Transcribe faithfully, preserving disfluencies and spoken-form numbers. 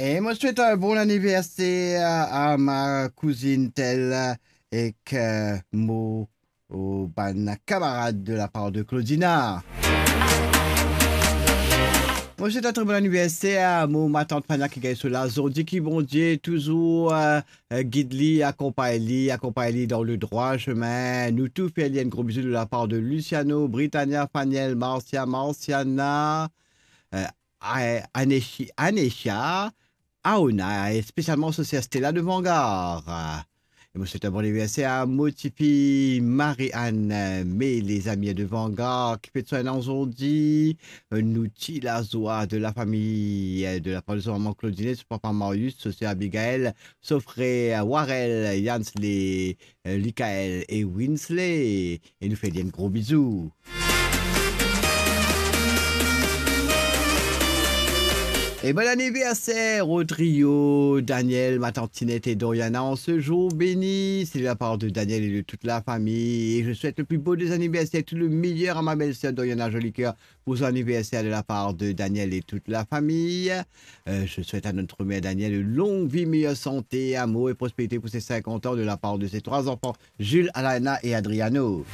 E mo swet enn bon aniverser a ma kouzinn Tel ek, eh, mo, o bann kamarad de la par de Claudina. Mo swet enn tre bon aniverser a mo matant Fania ki gagn so la zordi, ki Bondie touzour, eh, eh, gid li, akonpagn li, akonpagn li dan le drwa semin. Nou tou fer li enn gro bizou de la par de Luciano, Britannia, Faniel, Marcia, Marciana, eh, A-, Aneshi-, Anesha, Aona, e spesialman so ser Stella de Vangar. E mo swet enn bon aniverser a mo tifi Marie-Anne, me lezami de Vangar ki fet so enn an zordi. Nou ti lazwa de la fami, de la par de so mama Claudine, so papa Marius, so ser Abigail, so frer Warel, Yansley, eh, Likael e Winsley. E nou fer li enn gro bizou. E bon aniverser au trio, Daniel, ma tante Tinette et Doriana en ce jour béni. C'est de la part de Daniel et de toute la famille. Et je souhaite le plus beau des anniversaires, tout le meilleur à ma belle-sœur Doriana Jolicoeur pour son anniversaire de la part de Daniel et toute la famille. Euh, je souhaite à notre mère Danielle une longue vie, meilleure santé, amour et prospérité pour ses cinquante ans de la part de ses trois enfants, Jules, Alana et Adriano.